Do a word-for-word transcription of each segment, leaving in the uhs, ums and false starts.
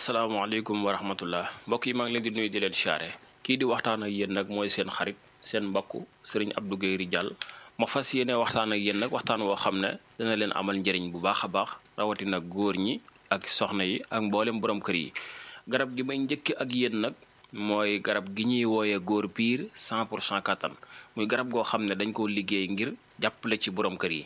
asalaamaaleykum wa rahmatullah mbokk yi maa ngi leen di nuyu di leen siyaare kii di waxtaan ak yéen nag mooy seen xarit seen mbokk sëriñ Abdou Guèye Ridial ma fas yéene waxtaan ak yéen nag waxtaan woo xam ne dana leen amal njëriñ bu baax a baax rawatina góor ñi ak soxna yi ak mboolem borom kër yi. garab gi may njëkk ak yéen nag mooy garab gi ñuy wooyee góor piir cent pour cent kattan muy garab goo xam ne dañ koo liggéey ngir jàppale ci borom kër yi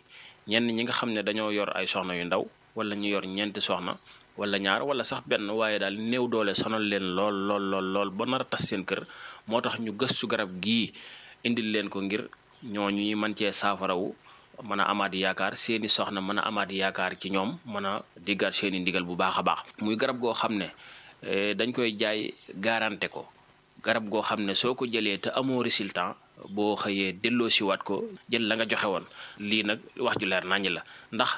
ñenn ñi nga xam ne dañoo yor ay soxna yu ndaw wala ñu yor ñeenti soxna wala ñaar wala sax benn waaye daal néew doole sonal leen lool lool lool lool ba nar a tas seen kër moo tax ñu gëstu garab gii indil leen ko ngir ñooñu ñi mën cee saafarawu mën a amaat yaakaar seeni soxna mën a amaat yaakaar ci ñoom mën a diggaat seeni ndigal bu baax a baax. muy garab goo xam ne dañ koy jaay garanté ko garab goo xam ne soo ko jëlee te amoo résultat boo xëyee delloo siwaat ko jël la nga joxe woon. lii nag wax ju leer naññ la ndax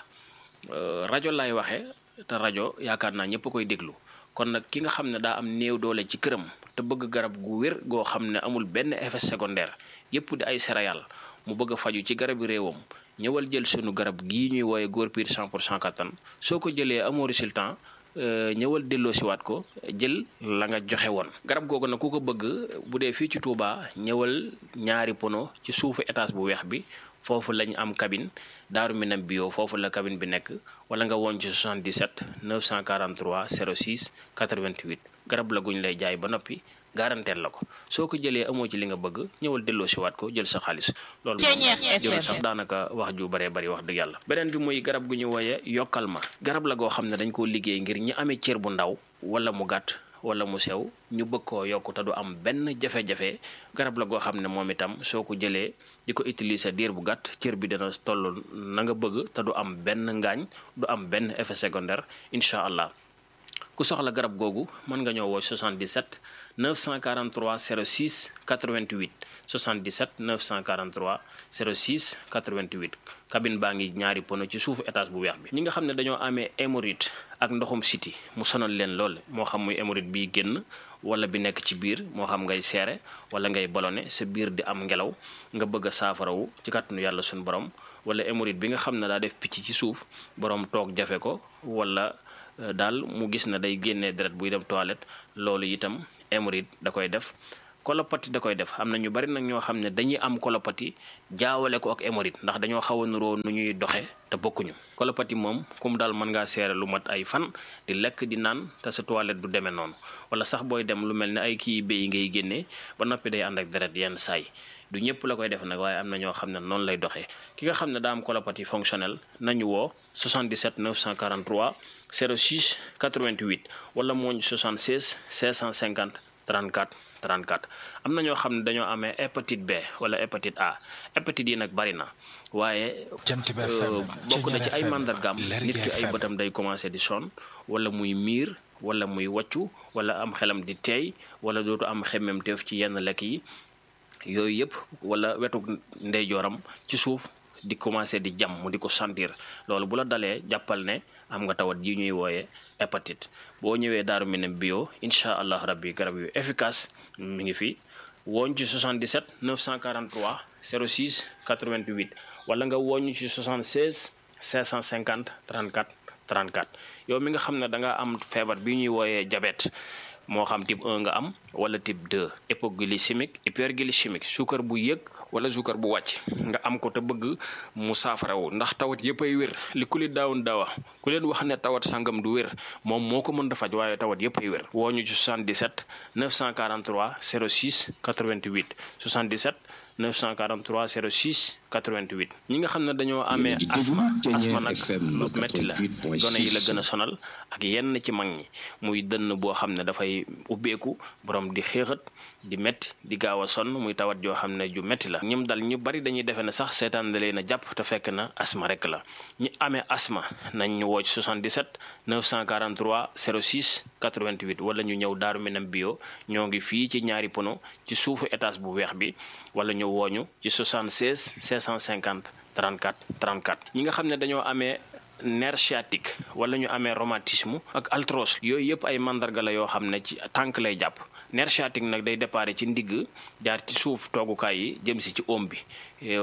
rajo laay waxee. te rajo yaakaar naa ñëpp koy déglu kon nag ki nga xam ne daa am néew doole ci këram te bëgg garab gu wér goo xam ne amul benn effet secondaire yëpp di ay céréales mu bëgg a faju ci garabi réewam ñëwal jël sunu garab gii ñuy wooye góor piir cent pour cent kattan soo ko jëlee amoo résultat ñëwal delloo siwaat ko jël la nga joxe woon. garab googu nag ku ko bëgg bu dee fii ci Touba ñëwal ñaari pono ci suufu étage bu weex bi foofu lañ am cabine Daaru Minam bio foofu la cabine bi nekk wala nga woon ci soixante-dix-sept neuf cent quarante-trois zéro six quatre-vingt-huit garab la guñ lay jaay ba noppi garanteel la ko soo ko jëlee amoo ci li nga bëgg ñëwal delloo si waat ko jël sa xaalis loolu moom jëlul sax daanaka wax ju baree bari wax dëgg yàlla. beneen bi muy garab gu ñu wooye yokkal ma garab la goo xam ne dañ koo liggéey ngir ñi amee cër bu ndaw wala mu gàtt wala mu sew ñu bëgg koo yokk te du am benn jafe-jafe garab la goo xam ne moom itam soo ko jëlee di ko utiliser diir bu gàtt cër bi dina toll na nga bëgg te du am benn ngaañ du am benn effet secondaire incha allah. ku soxla garab googu mën nga ñëw woo soixante-dix-sept neuf cent quarante-trois zéro six quatre-vingt-huit soixante-dix-sept neuf cent quarante-trois zéro six quatre-vingt-huit cabine baa ngi ñaari pono ci suufu étage bu weex bi. ñi nga xam ne dañoo amee hémorroïde ak ndoxum siti mu sonal leen lool moo xam muy hémorroïde bi génn wala bi nekk ci biir moo xam ngay seere wala ngay ballonné sa biir di am ngelaw nga bëgg a saafarawu ci kàttanu yàlla suñu borom wala hémorroïde bi nga xam ne daa def picc ci suuf borom toog jafe ko wala daal mu gis na day génnee deret buy dem toilette loolu itam hémorroïde da koy def. colopathie da koy def am na ñu bari nag ñoo xam ne dañuy am colopathie jaawale ko ak hémorroïde ndax dañoo xaw a nuroo nu ñuy doxe te bokkuñu. colopathie moom kum daal mën ngaa seere lu mat ay fan di lekk di naan te sa toilette du demee noonu wala sax booy dem lu mel ne ay kii béy ngay génnee ba noppi day ànd ak deret yenn saay du ñëpp la koy def nag waaye am na ñoo xam ne noonu lay doxee. ki nga xam ne daa am colopathie fonctionnelle nañu woo soixante-dix-sept neuf cent quarante-trois zéro six quatre-vingt-huit wala mooñ soixante-seize cinq cent cinquante trente-quatre trente-quatre. am na ñoo xam ne dañoo amee hépatite B wala hépatite A hépatite yi nag bari na waaye bokk na ci ay màndargaam nit ki ay bëtam day commencé di sonn wala muy miir wala muy wàccu wala am xelam di teey wala dootu am xemmemteef ci yenn lekk yi yooyu yëpp wala wetu ndeyjooram ci suuf di commencé di jam mu di ko sentir loolu bu la dalee jàppal ne am nga tawat yi ñuy wooye hépatite. boo ñëwee Daaru Minam bio incha allah rabbi garab yu efficace mi ngi fi wooñ ci soixante-dix-sept neuf cent quarante-trois zéro six quatre-vingt-huit wala nga wooñ ci soixante-seize cinq cent cinquante trente-quatre trente-quatre. yow mi nga xam ne da nga am feebar bi ñuy wooyee diabète moo xam type un nga am wala type deux hypoglycémique hyperglycémique suukar bu yëg wala suukar bu wàcc nga am ko te bëgg mu saafarawu ndax tawat yëpp ay wér li ku li daawun daawa ku leen wax ne tawat sangam du wér moom moo ko mën a faj waaye tawat yëpp ay wér. woo ñu ci soixante-dix-sept neuf cent quarante-trois zéro six quatre-vingt-huit soixante-dix-sept neuf cent quarante-trois zéro six quatre-vingt-huit. ñi nga xam ne dañoo amee asma asma nag lu metti la gone yi la gën a sonal ak yenn ci mag ñi muy dënn boo xam ne dafay ubbeeku borom di xéexat di metti di gaaw a sonn muy tawat joo xam ne ju metti la. ñim dal ñu bari dañuy defe ne sax seetaan da leen a jàpp te fekk na asma rek la. ñi amee asma nañ ñu woo ci soixante-dix-sept neuf cent quarante-trois zéro six quatre-vingt-huit wala ñu ñëw Daaru Minam bio ñoo ngi fii ci ñaari pono ci suufu étage bu weex bi wala ñu wooñu ci soixante-seize cinq cent cinquante trente-quatre trente-quatre. ñi nga xam ne dañoo amee nerf sciatique wala ñu amee rhumatisme ak arthrose yooyu yëpp ay mandarga la yoo xam ne ci tànk lay jàpp. nerf sciatique nag day déparé ci ndigg jaar ci suuf toogukaay yi jëm si ci oom bi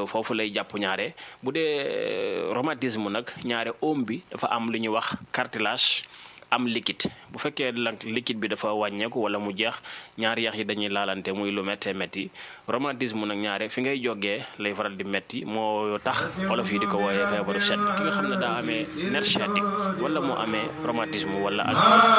foofu lay jàpp ñaare. bu dee rhumatisme nag ñaare oom bi dafa am lu ñuy wax cartilage am liquide bu fekkee nag liquide bi dafa wàññeeku wala mu jeex ñaari yax yi dañuy laalante muy lu méttee métti rhumatisme nag ñaare fi ngay jógee lay faral di métti moo tax olof yi di ko wooyee feebaru sedd ki nga xam ne daa amee nerf sciatique wala mu amee rhumatisme wala